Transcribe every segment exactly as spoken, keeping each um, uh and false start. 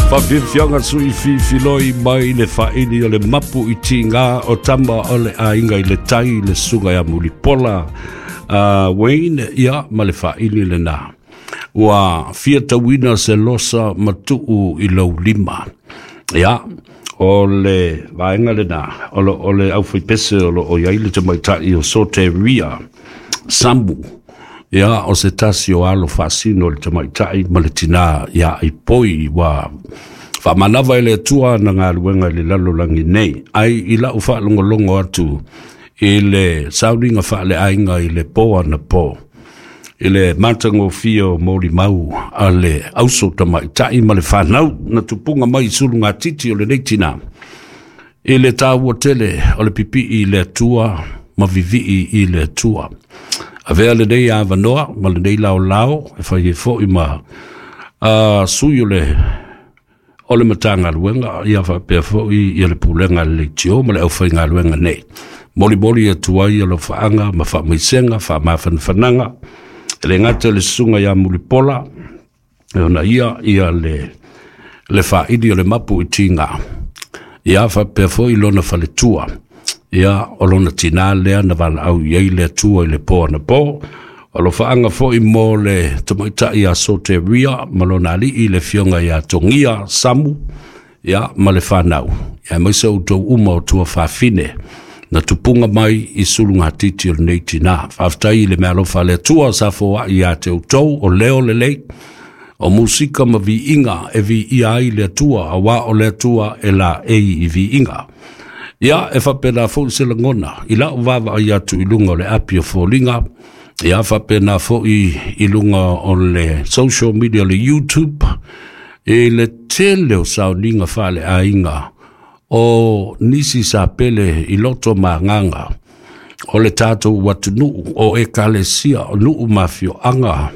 Faafiafiaga sui fifiloi mai le faaili o le mapu i tigā o tama o le aiga i le tai le susuga ia Mulipola uh, Wayne, ia ma le faaili lenā ua fia tauina se losa matuu i lou lima. Ia o le vaega lenā o lo o le aufaipese o loo i ai le tamaitai o Soteria Samu. Ia o se tasi o alo faasino le tamaitai ma le tinā ia Aipoi ua faamanava e le Atua na galuega i le lalolagi nei. Ai i lau faalogologo atu i le sauniga faaleaiga i le po anapo i le matagofie o molimau a le auso tamaitai ma le fanau na tupuga mai i sulugatiti o lenei tinā i le tāua tele o le pipii i le Atua ma vivii i le Atua. Avea lenei avanoa ma lenei laolao e fai ai fo'i ma uh, sui o le o le Matagaluega ia faapea fo'i ia le pulega a le leitio ma le aufaigaluega nei. Molimoli atu ai alofaaga ma faamaisega faamafanafanaga e le gata le susuga ia Mulipola e ona ia ia le le faaili o le mapu i tigā ia faapea fo'i lona faletua ia o lona tinā lea na valaau i ai le Atua i le po anapo. Alofaaga fo'i mo le tamaitai ia Soteria ma lona alii le afioga ia Togia Samu ia ma le fanau ia aemaise outou uma o tua fafine na tupuga mai i sulugatiti o lenei tinā. Faafetai i le meaalofa a le Atua sa foai ia te outou o leo lelei o musika ma viiga e viia ai le Atua auā o le Atua e laei i viiga. Ia e faapena fo'i se lagona i lau vaavaai atu i luga o le api o foliga ia faapena fo'i i luga o le social media o le YouTube i le tele o sauniga faaleaiga o nisi sa pele i loto ma agaga o le tatou atunuu o ekalesia o nuu ma afioaga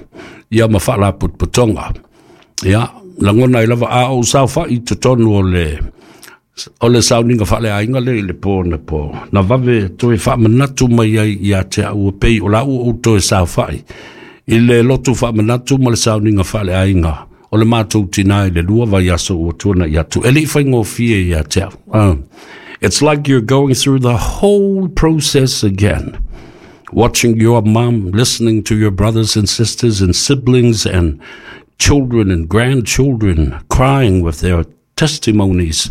ia ma faalapotopotoga. Ia lagona ai lava a ou saofa'i i totonu o le o le sauniga faaleaiga le i le po na po na vave toe faamanatu mai ai ia te au e pei o la ua ou toe saofa'i i le lotu faamanatu ma le sauniga faaleaiga o le matou tinā i le lua vaiaso ua tuana'i atu e le'i faigofie ia te au. uh, it's like you're going through the whole process again, watching your mom, listening to your brothers and sisters and siblings and children and grandchildren crying with their testimonies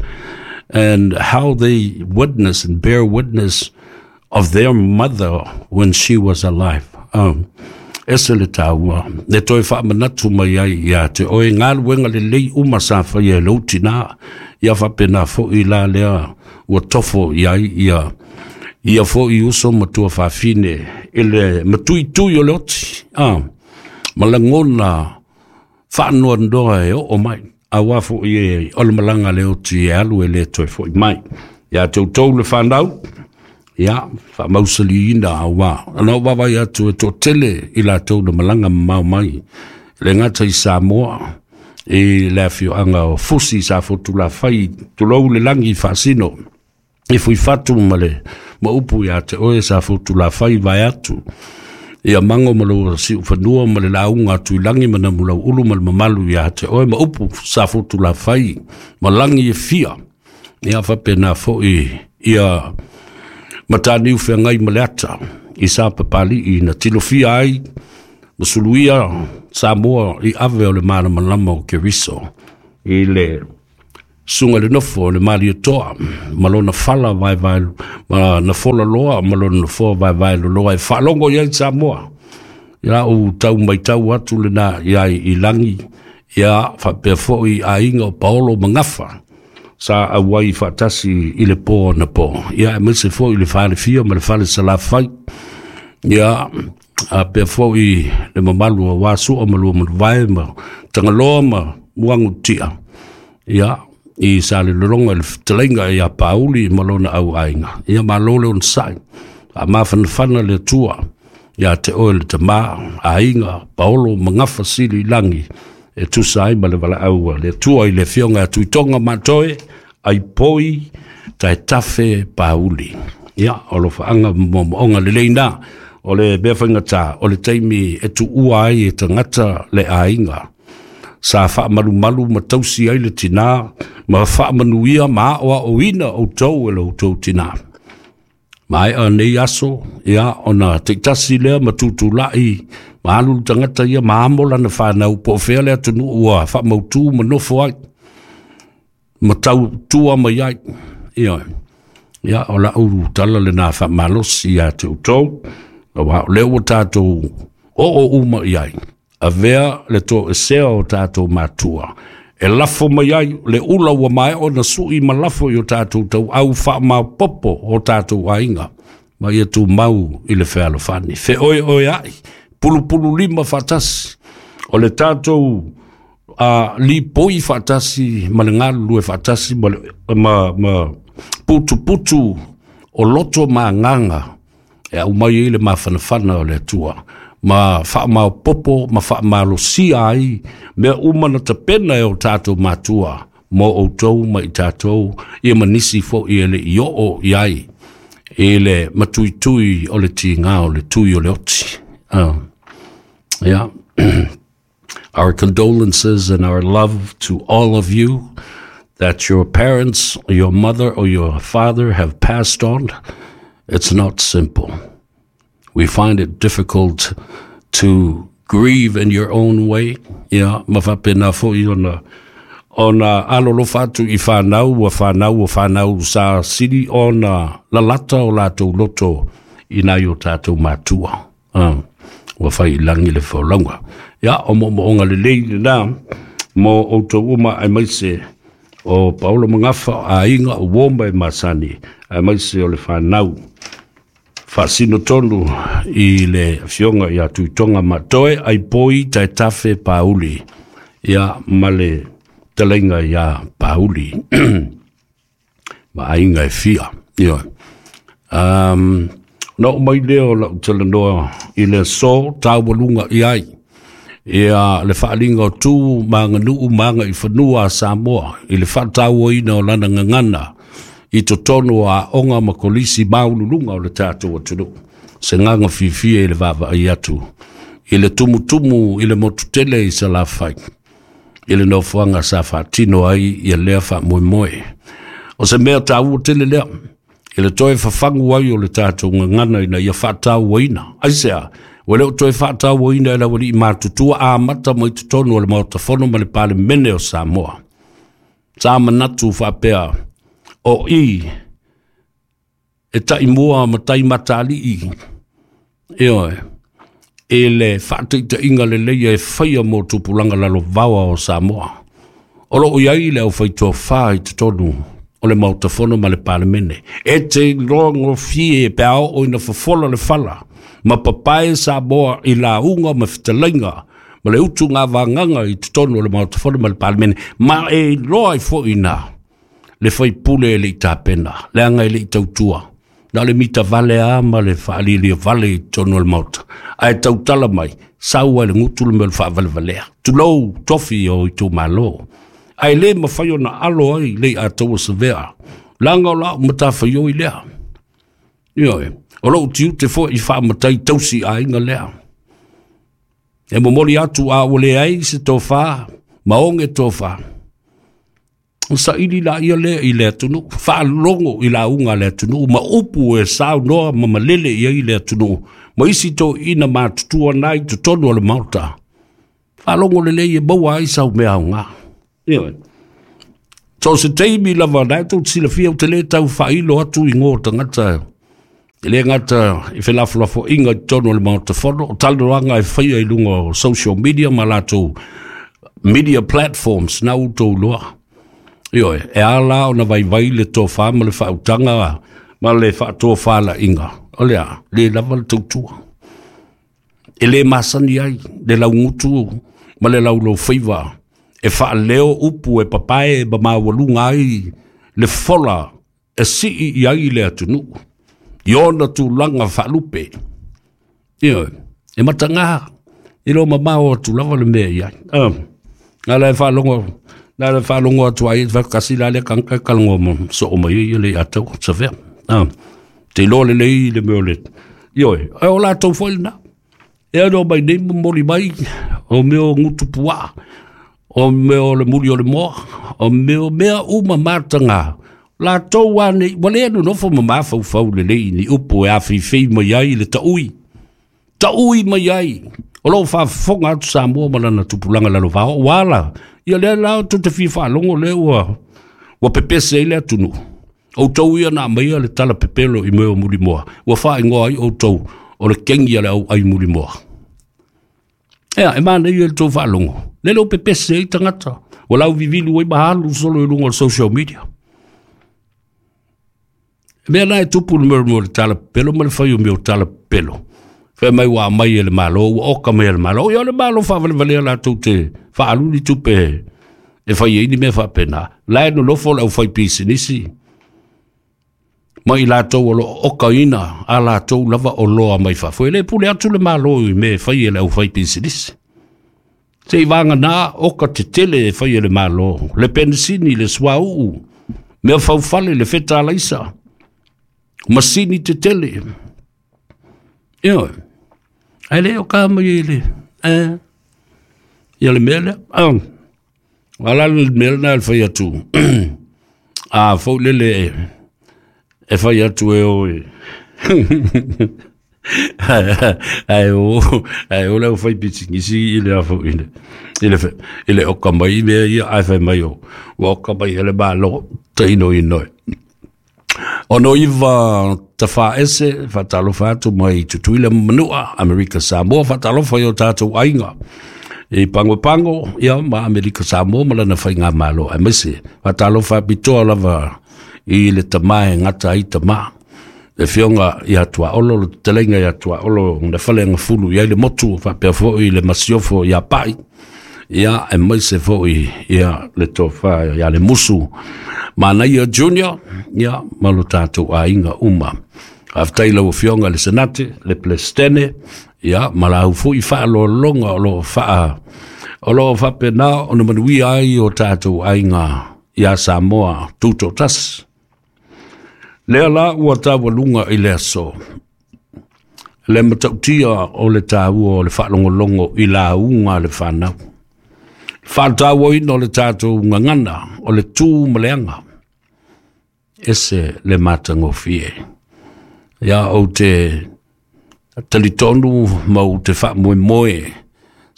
and how they witness and bear witness of their mother when she was alive. Um, ese le tāua, le toe faamanatu mai ai ia te oe galuega lelei uma sa faia e lou tinā, ia faapena fo'i la lea ua tofo i ai ia ia fo'i uso ma tua fafine i le matuitui o le oti ah, ma lagona faanoanoa e oo mai auā fo'i e o le malaga le oti e alu e lē toe fo'i mai. Ia te outou le fanau ia faamausaliina auā ana ou vaavaai atu e toatele i latou na malaga mamao mai le gata i Samoa i le afioaga o Fusi sa fotulafai tulou le lagi faasino i fuifatu ma le ma upu ia te oe sa fotulafai vae atu ia mago ma lou siufanua ma le lauga atu i lagi ma namulau ulu ma le mamalu ia te oe ma upu sa fotulafai ma lagi e fia ia faapena fo'i ia mataniu feagai ma le ata i sa papali'i na tilofia ai ma suluia Samoa i ave o le malamalama o Keriso i le suga le nofo o le Malietoa ma lona fala vaevae ma na fola loa ma lona nofoa vaevae loloa e faalogo i ai Samoa. Ia ou tau maitau atu lenā ia i lagi ia faapea fo'i aiga o Paolo ma Gafa sa auai faatasi i le po na po ia aemaise fo'i le falefia ma le fale salafai ia apea fo'i le mamalu o Sua ma lua manuvae ma Tagaloa ma Muagututia ia i sa le lologa i le fetalaiga ia Pauli ma lona auaiga. Ia malo le onosai faamafanafana le Atua ia te oe le tamā aiga Paolo ma Gafa sili i lagi e tusa ai ma le valaau a le Atua i le afioga a Tuitoga Matoe Aipoi Taetafe Pauli. Ia o alofaaga ma moomooga lelei na o le mea faigata o le taimi e tuua ai e tagata le aiga. Sa faamalumalu ma tausi ai le tinā ma faamanuia ma aoaoina outou e lo outou tinā. Maea nei aso, ia, ona teitasi lea ma tutulai, ma alu le tagata ia ma amo lana whanau, po o fea le atunuu ua faamautū ma nofo ai, ma tautua mai ai. Ia, ia, o lau tala lena faamalosi ia te outou, auā o lea ua tatou oo uma i ai, avea le toesea o tatou matua, e lafo mai ai le ula ua maea ona sui ma lafo i o tatou tauau faamaopoopo o tatou aiga, ma ia tumau i le fealofani. Feoeoeai, pulupulu lima faatasi, o le tatou uh, lipoi faatasi ma le galulue faatasi ma, le, ma, ma putuputu o loto ma agaga e aumai ai le mafanafana o le Atua, ma faamaopoopo ma faamalosia ai mea uma na tapena e o tatou matua mo outou ma i tatou, ia ma nisi fo'i e le i oo i ai i le matuitui o le tigā o le tui o le oti. Uh, yeah. Our condolences and our love to all of you that your parents, your mother or your father have passed on. It's not simple. We find it difficult to grieve in your own way. Ia, ma faapena fo'i ona ona alolofa atu i whanau, ua whanau, ua whanau sa sili ona lalata o latou loto i nai o tatou matua. Uh, ua fai i lagi le folauga. Ia, o moomooga lelei lena mo outou uma aemaise o Paolo Magafa, aiga o uo ma e masani, aemaise o le whanau. Faasino tonu i le afioga ia Tuitoga Matoe, Aipoi Taetafe Pauli, ia ma le talaiga ia Pauli, ma aiga e fia. Ia. Um, na oo mai lea o lau talanoa i le aso taualuga i ai. Ia le faaliga o tu ma aganuu ma agaifanua a Samoa i le faatauaina o lana gagana i totonu o aoga ma kolisi maualuluga o le tatou atunuu. Se gaga fiafia i le vaavaai atu i le tumutumu i le motutele i Salafai, i le nofoaga sa faatino ai ia lea faamoemoe. O se mea taua tele lea, i le toe fafagu ai o le tatou gagana ina ia faatauaina. Aisea, ua le o toe faatauaina e le aualii matutua amata mai totonu o le Maota Fono ma le Palemene o Samoa. Sa manatu faapea, o i e taimua ma taimatalii, ioe, i le faataitaiga lelei e faia mo tupulaga lalovaoa o Samoa. O loo i ai le aufaitofa i totonu o le Maota Fono ma le Palemene. E te iloa gofie pe a oo ina fofola le fala, ma papae Samoa i lauga ma fetalaiga, ma le utuga vagaga i totonu o le Maota Fono ma le Palemene, ma e iloa ai fo'i na le faipule e le i tapena, leaga e le i tautua. Na o le mitavale a ma le faalilia vale i totonu o le Maota. Ae tautala mai, sau ai le gutu le mea o le faavalevalea. Tulou tofi o itumalo. Ae le mafai ona alo ai le i ataua savea. Leaga o lau matafaioi lea. Ioe, o lou tiute fo'i faamatai tausi aiga lea. E momoli atu a ua leai se tofā, ma oge tofā. O saili la ia lea i le atunuu, faalogo i lauga a le atunuu, ma upu e saunoa ma malele i ai le atunuu, ma isi toeaiina matutua na i totonu o le Maota. Faalogo lelei e maua ai sau mea aoga. Ioe. So se taimi lava na e tou silafia ou te le tau faailo atu igoa o tagata. E le gata i felafolafoaiga i totonu o le Maota Fono, o talanoaga e faia i luga o social media ma latou media platforms na outou iloa. Ioe, e ala ona vaivai le tofā ma le faautaga ma le faatofalaiga. O lea, le lava le tautua. E le masani ai le laugutu ma le laulau faiva e faaleo upu e papae ma maualuga ai le fola e sii i ai le atunuu i ona tulaga faalupe. Ioe, e matagā, e lo mamao atu lava le mea i ai. Uh, na le faalogo na le faalogo atu ai kasi la le kanka kalongo mo so o mai ia le ataua savea. Uh, te iloa lelei le mea o le ioe, e o latou foi lena. E ano mai nei momoli mai o mea o gutu puaa. O mea o le muli o le moa, o mea o mea uma matanga. La tau ane, wale anu nofo ma mafaufau le lei ni upu e awhiwhi mai ai le taui. Taui mai ai. O lou faafofoga atu Samoa ma lana tupulaga lalovao, ua ia lea la tou te fia faalogo lea ua ua pepese ai le atunuu. Outou ia na aumaia le tala pepelo i mea o mulimoa, ua faaigoa ai outou o le kegi a le auai mulimoa. Ea, e manaia le tou faalogo, lele o pepese ai tagata, ua lauvivilu ai ma alu solo i luga o le social media. Mea na e tupu le mea o le tala pepelo ma le fai o mea o tala pepelo. Fai mai ua aumai e le Malo, ua oka mai e le Malo. Ia o le Malo faavalevalea latou te faaluli tupe e fai ai ni mea faapena. La e nonofo le aufai pisinisi ma i latou o loo okaina a latou lava oloa mai fafo. E le pule atu le Malo i mea e fai e le aufai pisinisi. Se i vagana oka tetele e fai e le Malo, le penisini, le suauu, mea faufale, le fetalaisa, masini tetele. Ioe, ae le o ka mai i le, eh, ia le mea lea. Ah, ala le mea lena e fai atu. A fou lele e fai atu e oe. Ae o, ae o le fai pisinisi i le afo i le, i le, i le oka mai mea ia, ae fai mai o, ua oka mai e le Malo, taino inoe. Ono iwa tawhaese, whatalofa atu mai Tutuila Manua, Amerika Samoa, whatalofa i o tātou ainga. I pango pango, ia ma Amerika Samoa, ma lana whai ngā malo. Ai maise, whatalofa pitoa lava i le tamae ngata ai tama. Le fionga i atua olo, le telenga i atua olo, na whale nga fulu i ai le motu, whapea foi le masiofo i a pai. Ia, e maise foi ia le tofa ia le musu. Manaia Junior, ia, malo tātou ainga uma. Aftai lau fionga le senate, le plestene, ia, malau foi whaalolonga o lo whaa, o lo whapena o na manuia ai o tātou ainga ia Samoa tuto tas. Lea la ua taualuga i le aso. Le matautia o le tāua o le whaalongolongo i la unga le whanau. Whātāuaina o le tātou ngangana, o le tū maleanga. Ese le matangofie. Ia o te talitonu mau te whaamoemoe.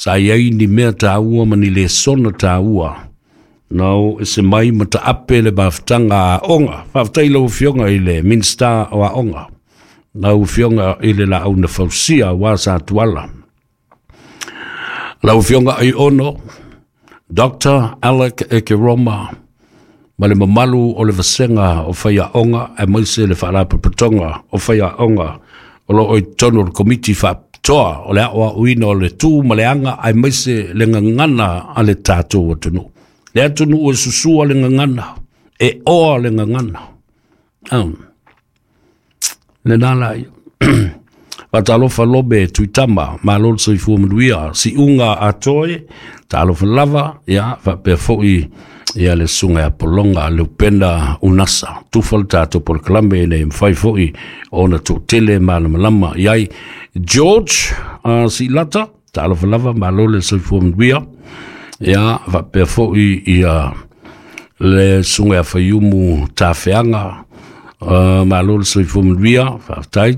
Sa iai ni mea tāua ma ni le sona tāua. Nau ese mai mata ape le mafutanga a onga. Whaafutai lau fionga i le minista o a onga. Lau fionga i le la auna fausia wa sa tuala. Lau fionga i ono, Doctor Alec Ekeroma, ma le mamalu o le vasenga o whaia onga, e maise le whaalapapatonga o whaia onga, o lo oi tonu o le komiti whaapitoa, o le aoa uina o le tū ma le anga, e maise le ngangana a le tātou atunu. Le atunu o susua le ngangana, e oa le ngangana. Um, le nala ia. Whatalofa lobe tuitama, malo soifua manuia, si unga atoe, talofa lava, ia, whapea foi, ia le sunga ya polonga, le upenda unasa, tufa le tātou polokalame nei mwhai foi, ona tōtele malamalama, iai, George, uh, si lata, talofa lava, malo le soifua manuia, ia, whapea foi, ia, le sunga ya whaiumu tāwheanga, Uh, malo le soifua manuia, whaatai.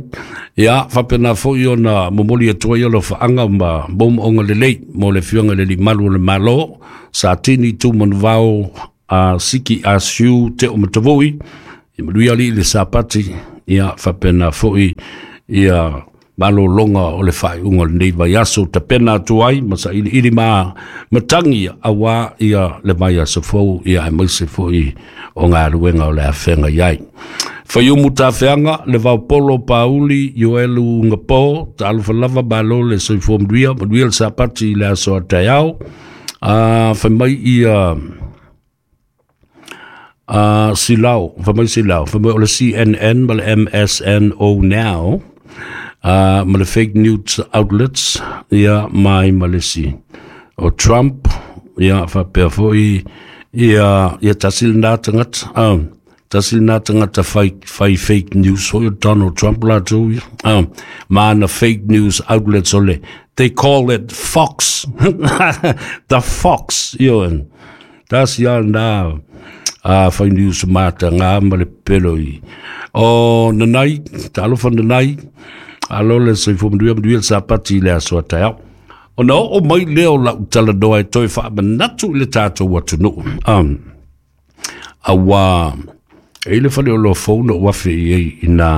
Ia, whapena foi ona momoli atua ia lo whaanga ma momoonga lelei, mo le fionga leli malu o le malo, sa tini tu manuvao a siki a siu te o matavoi, i manuia li le sapati, ia, whapena foi ia malo longa o le whaiunga o lenei vaiaso, tapena atu ai, ma sa ili ili ma matangi awa ia le vaiaso fou, ia e maise foi o ngā ruenga o le awhenga iai. Whaiumu tāwheanga, le vaupolo pauli, Ioelu ngapo, tālufa lava malo le soifua manuia, manuia le sapati i le aso a taiao, uh, whai mai ia uh, Silao, whai mai Silao, whai mai o le C N N ma le M S N O Now, uh, ma le fake news outlets, ia mai malesi. O Trump, ia whapea foi, ia, ia tasil nā tangata, um, tasil nā tangata whai, whai fake news, hoi o Donald Trump la tau ia. Um, maana fake news outlets o le They call it fox. The fox. Ioe. Tasi a na a whai news mata ngā ma le pelo i. O nanai, talofa nanai, alo le soifua manuia manuia le sapati i le aso a taeao. Ona oo mai lea o lau talanoa e toe faamanatu i le tatou atunuu. Um, auā e i le faleoloa fou na ou afe i ai ina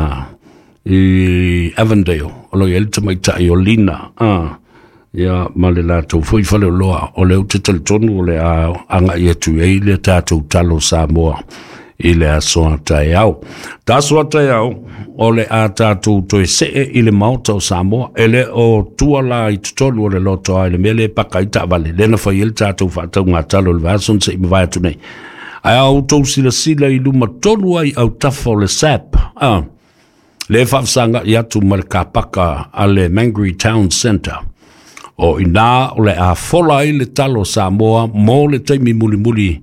i Avondale, o lo o i ai le tamaitai o Lina, ah, ia ma le latou foi faleoloa, o lea ou te talitonu o le a agai atu i ai le tatou talo Samoa i le aso a taeao. Ta aso a taeao, o le a tatou toe see i le Maota o Samoa, e le o tua la i totonu o le loto ai le mea lea e paka ai taavale, lea na fai ai le tatou faatauga talo i le vaiaso na se i mavae atu nei. Ae a outou silasila i luma tonu ai autafa o le S A P, ah, le faafesagai atu ma le kapaka a le Mangere Town Centre. O ina o le a fola ai le talo Samoa mo le taimi mulimuli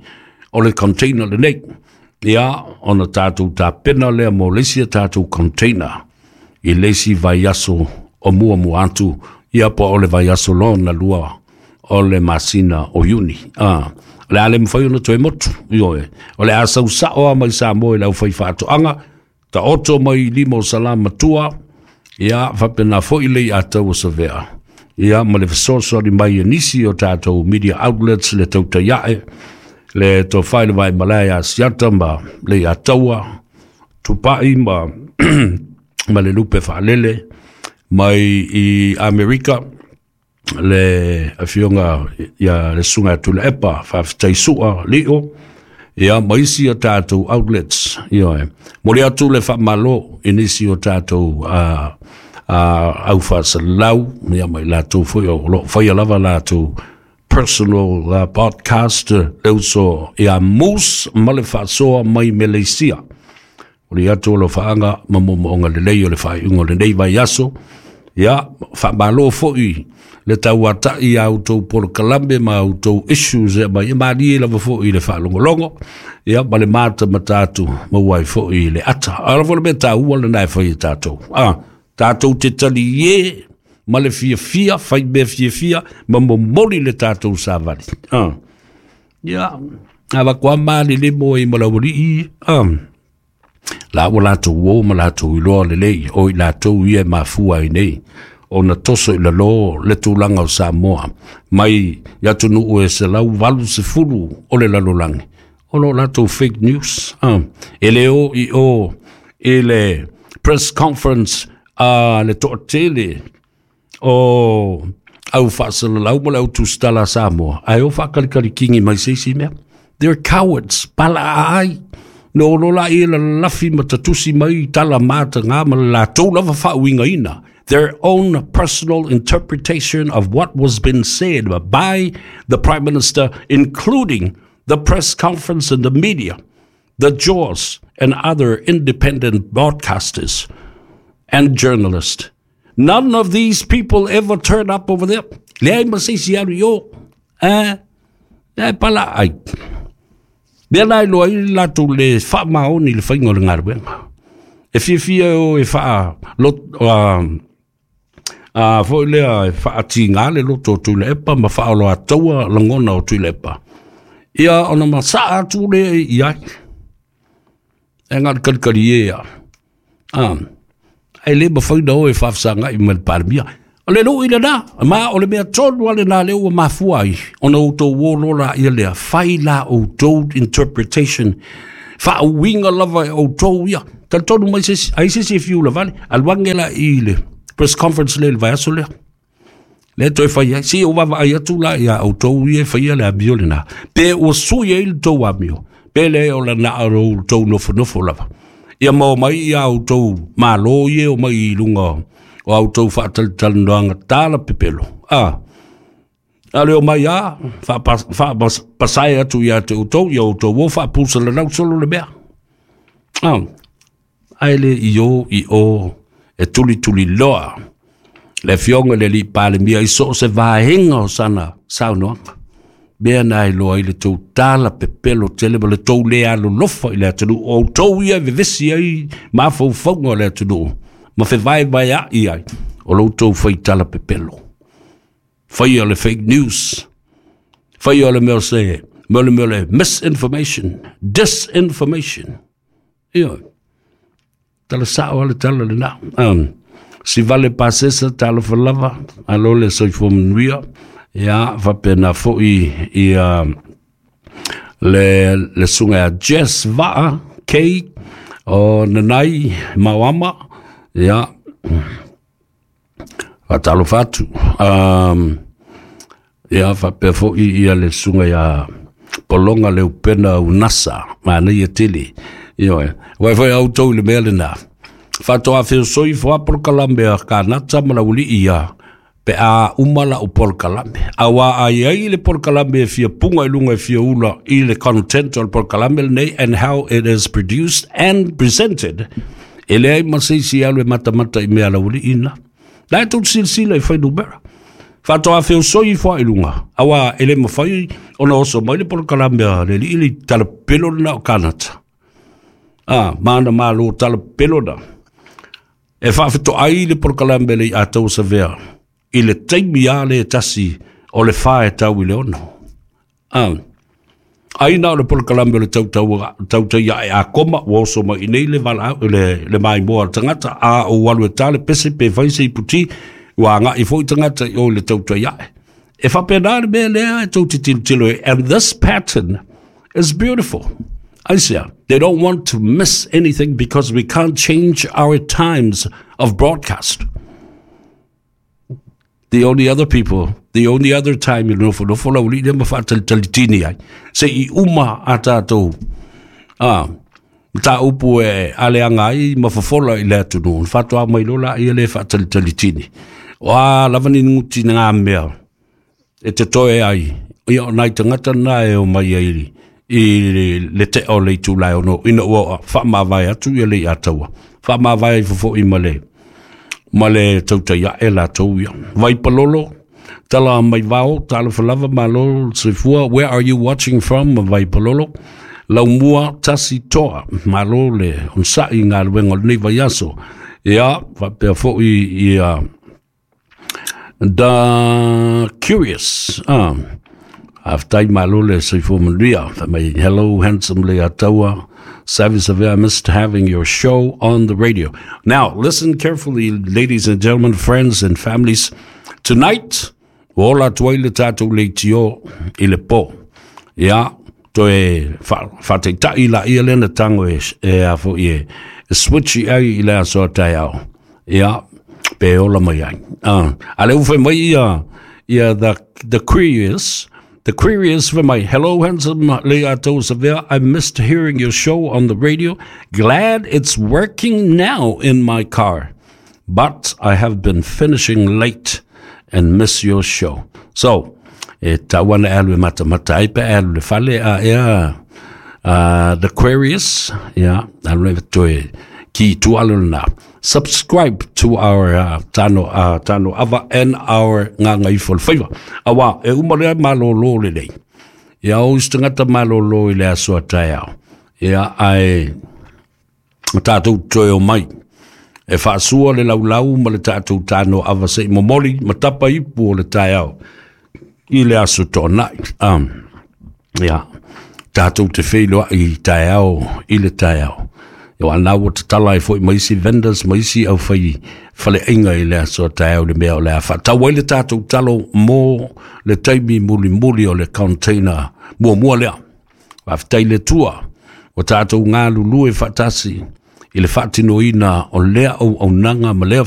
o le container lenei. Ia, ona tatou tapena lea mo le isi a tatou container i le isi vaiaso o muamua atu, ia po o le vaiaso lona lua o le masina o Iuni. Ah, o le a le mafai ona toe motu, ioe. O le a sausao a mai Samoa i le aufai faatoaga, taoto mai lima o salamatua, ia faapena foi le ia tau o Savea. Ia ma le fesoasoani mai e nisi o tatou media outlets le tautaiae, le tofai le vai malae a Siata ma le ia taua, Tupai ma, ma le lupe faalele mai i Amerika, le afioga ia le susuga ia Tuilaepa, faafetai sua lio, ia ma isi o tatou outlets, ioe. Momoli atu le faamalo i nisi o tatou uh, uh, au faasalalau, ia ma i latou foi o lo o faia lava latou personal uh, podcast, le uso ia Moose ma le faasoa mai Meleisia. O le atu o lo faaga ma momoonga lelei o le faaiuga o lenei vaiaso. Ia, faamalo foi le tauatai a outou polokalame ma outou issues e mai e malie lava foi i le faalogologo. Ia, ma le matamata atu maua ai foi i le ata. A o le foi le mea taua lena e fai e tatou. Ah, tatou te talie ma le fiafia, fai mea fiafia, ma momoli le tatou savali. Ah. Ia, avakoa malele mo e malaualii. Ah. La ua latou o ma latou iloa lelei, o i latou ia e mafua ai nei ona toso i lalo le tulaga o Samoa mai i atunuu e selau valu sefulu o le lalolagi. O lo latou fake news. Ah. E le o i o i le press conference a le toatele o au faasalalau ma le au tusitala a Samoa, ae o faakalikalikingi mai se isi mea. They're cowards. Pala ai. No lo la i la lafi ma tatusi mai tala mata ngā ma le latou lava faauigaina. Their own personal interpretation of what was been said by the Prime Minister, including the press conference and the media, the Jaws and other independent broadcasters and journalists. None of these people ever turn up over there. Leai ma se isi alu i o. Eh, e pala ai. Mea la e loa ai le latou le faamaoni i le faiga o le galuega. E fiafia e o e faa lot, uh, uh, foi lea e faatiga le loto o Tuilaepa ma faaoloataua lagona o Tuilaepa. Ia ona masaa atu lea i ai. E ngā kalikali e ia. Ah, ai le mafai na o e faafesagai ma le Palemia. O le luu i lena, ma o le mea tonu a lena lea ua mafua ai, ona outou o loa la ia lea, fai la outou interpretation, faauiga lava e outou ia. Talitonu mai se isi, ai se isi e fiu lavale, alu ane la i le press conference lea i le vaiaso lea. Lea toe fai ai, si o vaavaai atu la ia outou ia e faia le amio lena. Pe ua sui ai le tou amio, pe le o lana o outou nofonofo lava. Ia ma o mai ia outou malo ia o mai i lunga o outou faatalitalanoaga tala pepelo. Ah, a le o mai a, faapasae atu ia te outou, ia outou o faapusalanau solo le mea. Ah, ae le i o i o e tulituli loa le afioga i le alii Palemia i so o se vaega o sana saunoaga. Mea na e loa ai le tou tala pepelo tele ma le tou le alolofa i le atunuu. O outou ia e vevesi ai mafaufauga o le atunuu ma fevaevaea'i ai o lo outou faitala pepelo. Faia le fake news. Faia le mea se, mea le mea le misinformation, disinformation. Ia, tala sao ale tala le na. Um, si vale pasesa talofa lava, alo le soifua manuia, ia, faapena foi ia le, le suga ia Jess Vaa, K, o Nanai Mauama, ia, faatalofa atu. Um, ia, faapea foi ia le suga ia Polonga le upena unasa, manaia tele. Ia, wai foi au tau i le mea lena. Faatoa feosoi foa polokalame a Kanata ma Laulii ia pe a uma la o polokalame. Aua ai ai le polokalame e fia punga i lunga e fia ula i le content o le polokalame lenei and how it is produced and presented. E leai ma se isi alu e matamata i mea Laulii na. La e tou silasila i fuainumera. Faatoa feosoi foa i lunga. Aua e le mafai ona oso mai le polokalame a le alii le talapelo lena o Kanata. Ah, mana malo talapelo na. E faafetoai le polokalame le i atau savea i le taimi a le tasi o le fa e tau i le ono. Ah, ai na o le polokalame o le tautau tautai ae a koma ua oso mai i nei le vala le, le maimoa o le tagata a o alu e tā le pese pe fai se iputi ua agai foi tagata i o i le tautai ae. E faapena le mea lea e tou te tilotilo ai. And this pattern is beautiful. Aisea, they don't want to miss anything because we can't change our times of broadcast. The only other people, the only other time i nofonofo laulii lea ma faatalitalitini ai, se i uma a tatou ah, mataupu e aleaga ai ma fofola i le atunuu, ona faatoa mai loa laia lea e faatalitalitini. O a lava ni guti ngā mea e totoe ai, ia o nai tagata na e o mai ai i le tea o le itula e ono, ina ua faamavae atu ia le Ataua. Faamavae ai fofo'i ma le, ma le tautai ae latou ia. Vaipalolo, tala mai vao, talofa lava, malo le soifua. Where are you watching from, Vaipalolo? Laumua tasi toa, malo le onosai i galuega o lenei vaiaso. Ia, faapea foi ia The Curious. Ah. Faafetai malo le soifua manuia. Fai mai, hello handsome Leiataua. Savvy Savea, I missed having your show on the radio. Now, listen carefully, ladies and gentlemen, friends and families. Tonight, ua ola atu ai le tatou leitio i le po. Ia, toe faataitai laia lea na tago e, e a foi e, e switch ai i le aso a taeao. Ia, pe ola mai ai. Uh, a le ua fai mai ia, ia the, the Curious, the Curious fai mai, hello handsome Leiataua Savea, I missed hearing your show on the radio. Glad it's working now in my car. But I have been finishing late and miss your show. So, e tau ana e alu e matamata ai pe e alu le fale a ea uh, The Aquarius, ia, alu e toe ki tualu lena. Subscribe to our uh, tano, uh, tano ava and our nganga ifo le faiva. Awa, e uma lea malolo lelei. Ia o isi tagata malolo i le aso a taeao. Ia, ae tatou toe o mai. E faasua le laulau ma le tatou tano ava se i momoli ma tapa ipu o le taeao i le aso toanai. Um, ia, tatou te feiloai i taeao i le taeao. Ia ana ua tatala ai foi ma isi vendors ma isi au fai faleaiga i le aso a taeao le mea o le a faatau ai le tatou talo mo le taimi mulimuli o le container muamua lea. Faafetai i le Atua ua tatou galulue faatasi i le faatinoina o lea auaunaga ma lea